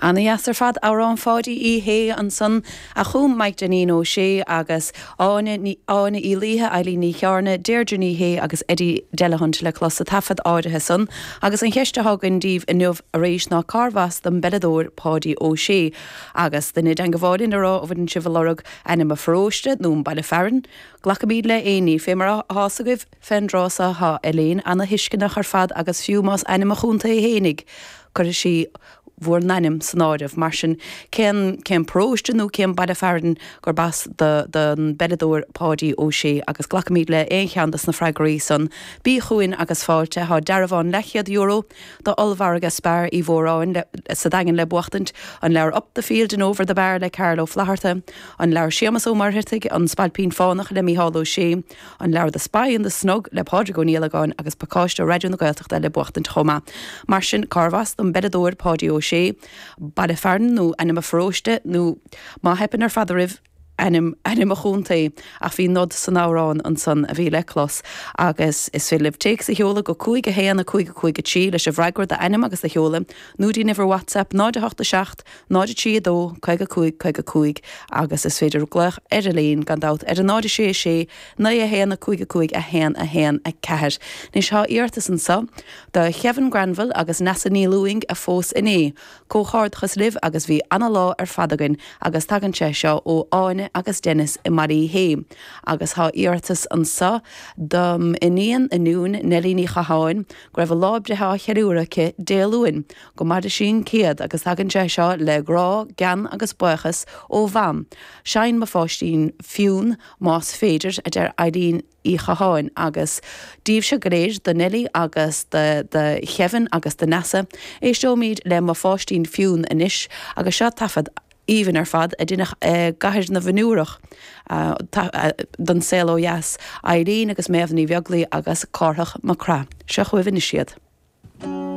Ana dheas ar fad, amhrán Pháidí Uí Shé ansan a chum Mike Dainín Ó Sé agus Áine Ní Áine Uí Laoithe, Eilín Ní Chearna, Deirdre Ní Shé agus Eddie Delahunt le clos sa taifead áirithe san. Agus an cheist atá againn daoibh inniu arís ná cárbh as don bpeileadóir Páidí Ó Sé? Agus duine i dteangabháil linn a rá an bhfuileann sibh ag lorg ainm a pharóiste nó an baile fearainn? Glacaimíd le aon ní, fé mar atá's agaibh fén dtráth so thá Elaine ana-thuisceanach ar fad agus fiú más ainm a chontae fhéinig, cuirfidh sí bhur n-ainm san áireamh. Mar sin, cén, cén paróiste nó cén baile fearainn gurb as do, don bpeileadóir Páidí Ó Sé? Agus glacaimíd le aon cheann dos na freagraí san. Bí chugainn agus fáilte. Thá dearbhán leathchéad euro do ollmhargadh Spar Uí Mhóráin le, sa Daingean le buachtaint, an leabhar Up the Field and Over the Bar le Carl Ó Flaithearta, an leabhar Séamas Ó Muircheartaigh, An Spailpín Fánach le Mícheál Ó Sé, An leabhar The Spy in the Snug le Pádraig Ó Niallagáin agus pacáiste ó Raidió na Gaeltachta le buachtaint chomh maith. Mar sin, cárbh as don bpeileadóir Páidí Ó Sé? Baile fearainn nó ainm a pharóiste nó, má theipeann ar fad oraibh, ainm ainm a chontae? Ach bhí nod san amhrán ansan a bhí le clos agus is féidir libh téacs a sheoladh go 5 1 5 5 3 leis an bhfreagra, d'ainm agus do sheoladh, nó dtí'n uimhir WhatsApp 0 8 7 0 3 2 55 55 agus is féidir glaoch ar Elaine gan dabht ar 0 6 6 9 1 5 5 1 1 4. Anois thá iarratas anso do Kevin Granville agus Neasa Ní Lúing a phós inné. Comhghairdeachas libh agus bhí ana-lá ar fad againn agus tagann sé seo ó Áine agus Dennis i mBaile Uí Shé. Agus thá iarratas anso dom iníon ionúin Neilí Ní Chatháin go raibh a lá breithe á cheiliúradh aici Dé Luain. Go maire sí an céad agus tagann sé seo le grá, gean agus buíochas ó Mham. Seinn Mo Pháistín Fionn más féidir, a deir Eileen Uí Chatháin agus daoibhse go léir, do Neilí agus do do Kevin agus do Neasa. Éisteoimid le Mo Pháistín Fionn anois agus seo taifead aoibhinn ar fad a deineadh i gCathair na bhFionnúrach don Saol Ó Dheas, Eileen agus Méabh Ní Bheaglaoi agus Cárthach Mac Craith. Seo chugaibh anois iad.